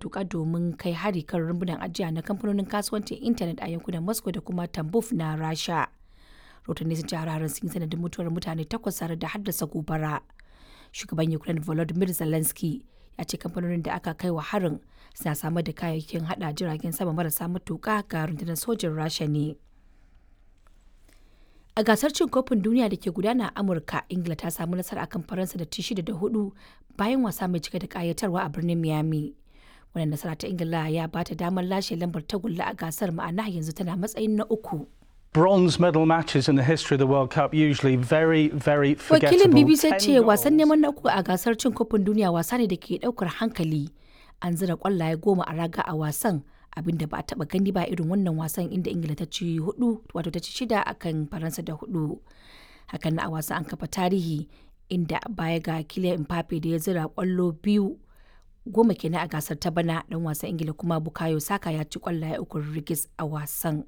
matuka domin kai hari kan rumbunan ajiya na kamfanonin kasuwancin intanet a yankunan Moscow da kuma Tambov na Rasha. Rahotanni sun ce hare-haren sun yi sanadin mutuwar mutane takwas tare da haddasa gobara. Shugaban Ukraine Volodymyr Zelensky ya ce kamfanonin da aka kai wa harin suna samar da kayayyakin hada jiragen sama marasa matuka ga rundunar sojin Rasha ne. A gasar cin kofin duniya da ke gudana a Amurka, Ingila ta samu nasara akan Faransa da ci 6 da 4 bayan wasa mai cike da kayatarwa a birnin Miami. Wannan nasara ta Ingila ya ba ta damar lashe lambar tagulla a gasar, ma'ana yanzu tana matsayin na uku. Bronze medal matches in the history of the World Cup usually very, very forgettable. Wakilin BBC ce wasan neman na uku a gasar cin kofin duniya wasa ne da ke daukar hankali. An zira kwallaye 10 a raga a wasan, abinda ba a taba gani ba irin wannan wasan, inda Ingila ta ci hudu, wato ta ci shida akan Faransa da hudu. Hakan na a wasan an kafa tarihi, inda baya ga Kylian Mbappe da ya zira kwallo biyu, 10 kenan a gasar ta bana, dan wasan Ingila kuma Bukayo Saka ya ci kwallaye uku rigis a wasan.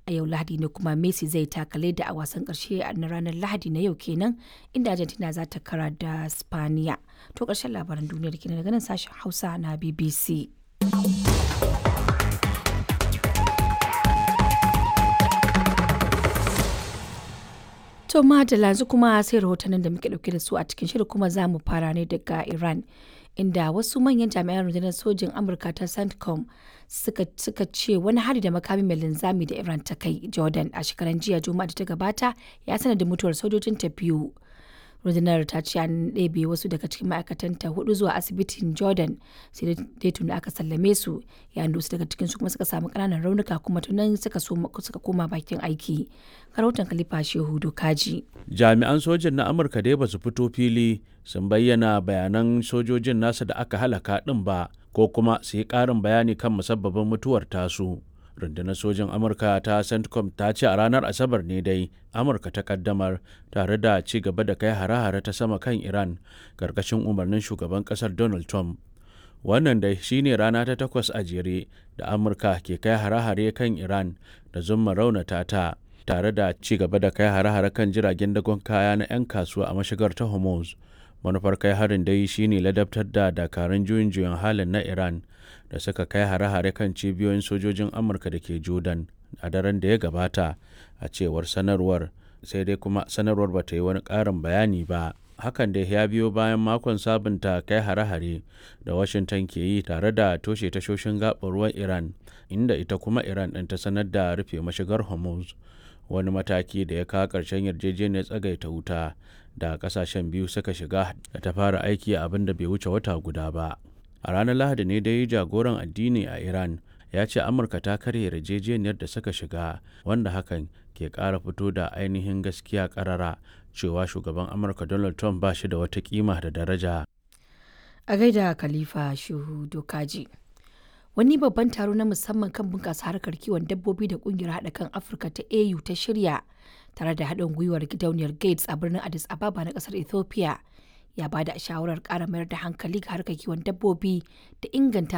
A yau Lahadi ne kuma Messi zai taka leda a wasan karshe na ranar Lahadi na yau kenan, inda Argentina za ta kara da Spaniya. To, karshen labaran duniyar kenan daga nan sashen Hausa na BBC. To madalla, yanzu kuma sai rahotannin da muke dauke da su a cikin shirin, kuma za mu fara ne daga Iran, inda wasu manyan jami'an rundunar sojin Amurka ta CENTCOM suka ce wani hari da makami mai linzami da Iran ta kai Jordan a shekaran jiya Juma'a da ta gabata ya sanadin mutuwar sojojin ta biyu. Rundunar ta ce an ɗebe wasu daga cikin ma'aikatanta hudu zuwa asibitin Jordan, sai dai tuni aka sallame su, yayin da wasu daga cikin su kuma suka samu ƙananan raunuka kuma tunan suka koma bakin aiki. Rahoton Khalifa Shehu Dokaji. Jami'an sojin na Amurka dai ba su fito fili sun bayyana bayanan sojojin nasa da aka halaka ɗin ba, ko kuma su yi ƙarin bayani kan musabbabin mutuwar tasu. Rundunar sojin Amurka ta CENTCOM ta ce a ranar Asabar ne dai Amurka ta kaddamar tare da ci gaba da kai hare-hare ta sama kan Iran karkashin umarnin shugaban kasar Donald Trump. Wannan dai shine rana ta takwas a jere da Amurka ke kai hare-hare kan Iran da zumma raunata ta, tare da ci gaba da kai hare-hare kan jiragen dagon kaya na 'yan kasuwa a mashigar ta Hormuz. Manufar kai harin dai shine ladabtar da dakarun juyin juyin halin na Iran da suka kai hare-hare kan cibiyoyin sojojin Amurka da ke Jordan a daren da ya gabata, a cewar sanarwar. Sai dai kuma sanarwar ba ta yi wani ƙarin bayani ba. Hakan da ya biyo bayan makon sabunta kai hare-hare da Washington ke yi tare da toshe tashoshin gaɓar ruwan Iran, inda ita kuma Iran ɗin ta sanar da rufe mashigar Hormuz, wani mataki da ya kawo ƙarshen yarjejeniyar tsagaita wuta da ƙasashen biyu suka shiga da ta fara aiki abin da bai wuce wata guda ba. A ranar Lahadi ne dai jagoran addini a Iran ya ce Amurka ta karya yarjejeniyar da suka shiga, wanda hakan ke ƙara fito da ainihin gaskiya ƙarara cewa shugaban Amurka Donald Trump ba shi da wata kima da daraja. A gaida Khalifa Shehu Dokaji. Wani babban taro na musamman kan bunƙasa harkar kiwon dabbobi da ƙungiyar haɗa kan Afirka ta AU ta shirya tare da haɗin gwiwar gidauniyar Gates a birnin Addis Ababa na ƙasar Ethiopia ya ba da shawarar ƙara mayar da hankali ga harkar kiwon dabbobi da inganta